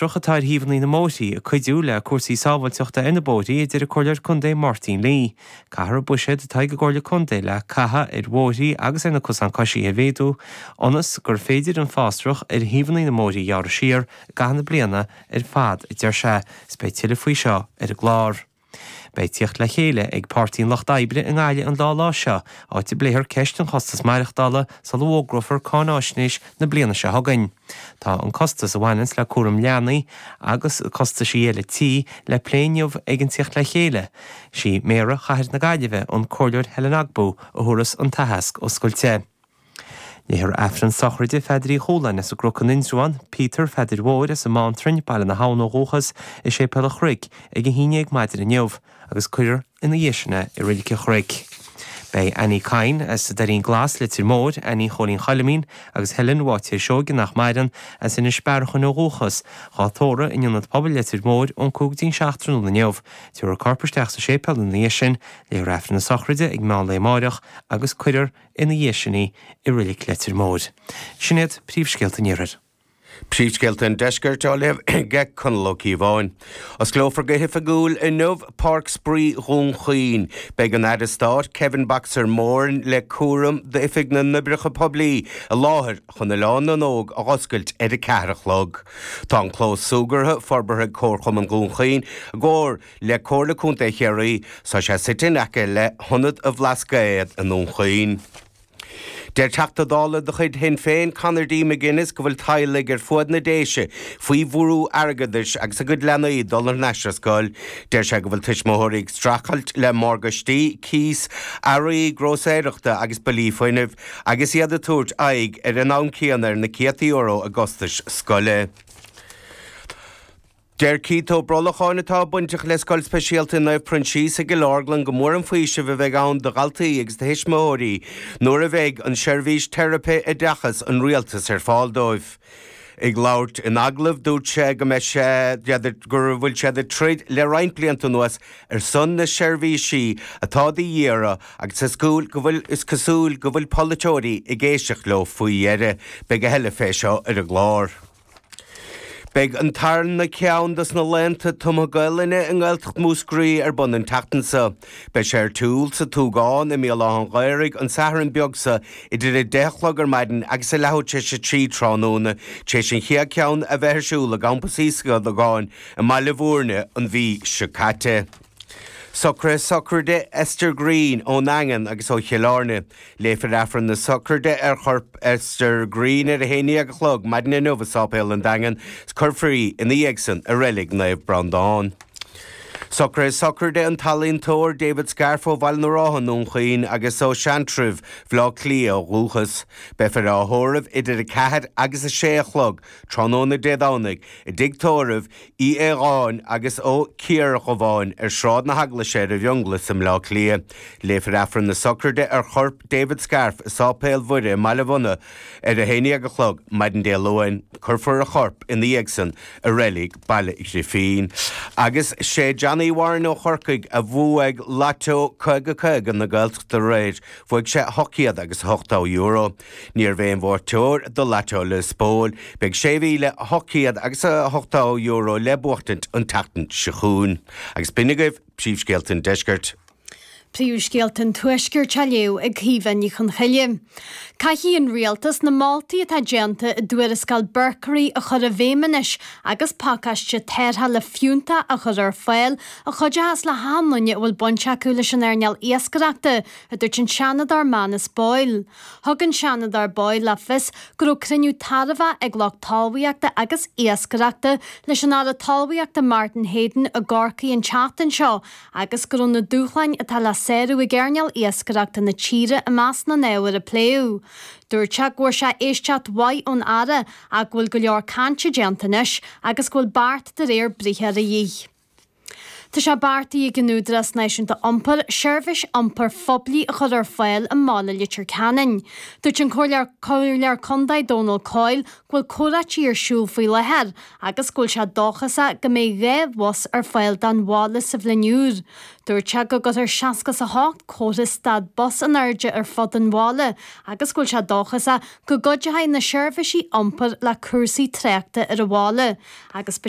fásrach atá ar thaobhanna na mbóithrí ag cuidiú le cúrsaí sábháilteachta ar na bóithrí, a deir an Comhairleoir Contae Máirtín Lee. Caithfear an buiséad atá ag an gComhairle Contae le caitheamh ar bhóithrí agus ar na cosáin coisithe a mhéadú ionas gur féidir an fásrach ar thaobhanna na mbóithrí a ghearradh siar i gcaitheamh na bliana ar fad, a deir sé. Is beidh tuilleadh faoi seo ar an gclár. Beidh tíocht le chéile ag Páirtí an Lucht Oibre i nGaillimh an dá lá seo, áit a bpléifear ceist an chostas maireachtála sula bhfógrófar cáináisnéis na bliana seo chugainn. Tá an costas a bhaineanns le cúram leanaí agus costaisí eile tí le plé inniu ag an tíocht le chéile. Sí Méara Chathair na Gaillimhe, an Comhairleoir Helen Ogbu, a thabharfas an t-aitheasc oscailte. Léifear Aifreann sochraide Pheadair Uí Chualáin as an gCnoc in Indreabhán, Peter Pheadair Mhóir as an mBeanntrainn, Baile na hAbhann ó dhúchas, i Séipéal an Chnoic ag a haon dhéag maidin inniu agus cuirfear ina dhiaidh sin é i Reilig an Chnoic. Beidh Annie Kyne as an Doirín Glas, Leitir Móir, Annie Chóilín Choilimín agus Helen Mháitéir Seoige nach maireann, as Inis Bearachain ó dhúchas, dhá dtórramh in Ionad Pobail Leitir Móir ón 5 go dtí an 7 tráthnóna inniu. Tabharfar a corp isteach sa séipéal ina dhiaidh sin, léifear Aifreann na sochraide ag meán lae amáireach agus cuirfear ina dhiaidh sin í i Reilig Leitir Móir. Sin iad príomhscéalta an Iarthair. Príomhscéalta an Deiscirt á léamh ag Conall Ó Cíobháin. Osclófar go hoifigiúil inniu Páirc Spraoi Dhún Chaoin. Beidh an Aire Stáit Kevin Boxer Moran le cúram d'Oifig na nOibreacha Poiblí i láthair chun Oileán na nÓg a dh'oscailt ar a ceathair a chlog. Tá an clós súgartha forbartha ag Comharchumann Dhún Chaoin i gcomhar le Comhairle Contae Chiarraí. Tá sé suite in aice le hIonad an Bhlascaoid i nDún Chaoin. Deir Teachta Dála de chuid Shinn Féin, Conor D. McGuinness go bhfuil teaghlaigh ar fuaid na Déise faoi bhrú airgeadais agus a gcuid leanaí ag dul thar n-ais ar scoil. Deir sé go bhfuil tuismitheoirí ag streachailt le morgáistí, cíos, earraí grósaeireachta agus billí fuinnimh agus iad ag tabhairt aghaidh ar an am céanna ar na céadta euro i gcostais scoile. Deir Keith Ó Brolacháin, atá bainteach le Scoil Speisialta Naomh Proinsias i gCill Orglan go mór an faoiseamh a bheidh ann do dhaltaí agus do thuismitheoirí nuair a bheidh an seirbhís teiripe oideachais an Rialtais ar fáil dóibh. Ag labhairt in agallamh dúirt sé go mbeidh sé go bhfuil siad ag troid le roinnt blianta anuas ar son na seirbhísí atá de dhíth orthu agus is cosúil go bhfuil is cosúil go bhfuil polaiteoirí ag éisteacht leo faoi dheireadh. Beidh a thuilleadh fé seo ar an gclár. Beidh an tarna ceann dos na laethanta tumtha Gaelainne i nGaeltacht Mhúscraí ar bun an tseachtain seo. Beidh sé ar siúl sa tSúgán i mBéal Átha an Ghaorthaidh an Satharn beag seo idir 10 a chlog ar maidin agus a leathuair tar éis a 3 tráthnóna, tar éis an chéad cheann a bheith ar siúl i gCampas Íosagáin i mBaile Bhúirne an mhí seo caite. Socruithe sochraide Esther Greene ón nDaingean agus ó Chill Airne. Léifear Aifreann na sochraide ar chorp Esther Greene ar a haon dhéag a chlog maidin inniu i Sáipéal an Daingin 's cuirfear í ina dhiaidh san i Reilig Naomh Breandán. Socruithe sochraide an t-ealaíontóir David Scarfe ó Bhaile na Rátha i nDún Chaoin agus ó Seantrabh, Bhaile Átha Cliath ó dhúchas. Beifear á thórramh idir 4 agus 6 a chlog tráthnóna Dé Domhnaigh i dtigh tórraimh Uí Aodháin agus Ó Ciardhubháin ar Shráid na hEaglaise ar an bhFionnghlas i mBleá Cliath. Léifear Aifreann na Sochraide ar chorp David Scarfe i Sáipéal Mhuire i mBaile Bhunna ar a haon dhéag a chlog maidin Dé Luain. Cuirfear a chorp ina dhiaidh san i reilig Baile Ghrifín. Agus sé Johnny Warren ó Chorcaigh a bhuaigh Lotto 50 50 na Gaeltachta aréir. Bhuaigh sé €800 agus €80. Ní raibh aon bhuaiteoir do Lotto Lios Póil. Beidh €6,800 agus €80 le buachtaint an tseachtain seo chugainn. Agus b'in agaibh príomhscéalta an deiscirt. Príomhscéalta an Tuaiscirt á léamh ag Caoimhe Ní Chonchoille. Caithfidh an Rialtas na moltaí atá déanta i dtuarascáil Berkery a chur i bhfeidhm anois agus pacáiste tarrthála fiúntach a chur ar fáil a chuideochas le hachan duine a bhfuil baint acu leis an earnáil iascaireachta, a dúirt an Seanadóir Manus Boyle. Thug an Seanadóir Boyle le fios go raibh cruinniú tairbheach ag lucht talmhaíochta agus iascaireachta leis an Aire Talmhaíochta Martin Heydon i gCorcaigh an tseachtain seo agus go raibh na dúshláin atá le sárú ag earnáil iascaireachta na tíre i measc na n-ábhar a pléadh. Dúirt sé go bhfuair sé éisteacht mhaith ón Aire ach go bhfuil go leor cainte déanta anois agus go bhfuil beart de réir briathair a dhíth. Tá sé beartaithe ag an Údarás Náisiúnta Iompair seirbhís iompair phoiblí a chur ar fáil i mbaile Leitir Ceanainn. Dúirt an Comhairleoir Contae Dónal Coyle go bhfuil comhráití ar siúl faoi láthair agus go bhfuil sé dóchasach go mbeidh 2 bhus ar fáil don bhaile sa bhliain úr. Dúirt sé go gcuirfear 68 comhartha stad bus in airde ar fud an bhaile agus go bhfuil sé dóchasach go gcuideoidh na seirbhísí iompair le cúrsaí tráchta ar an bhaile agus.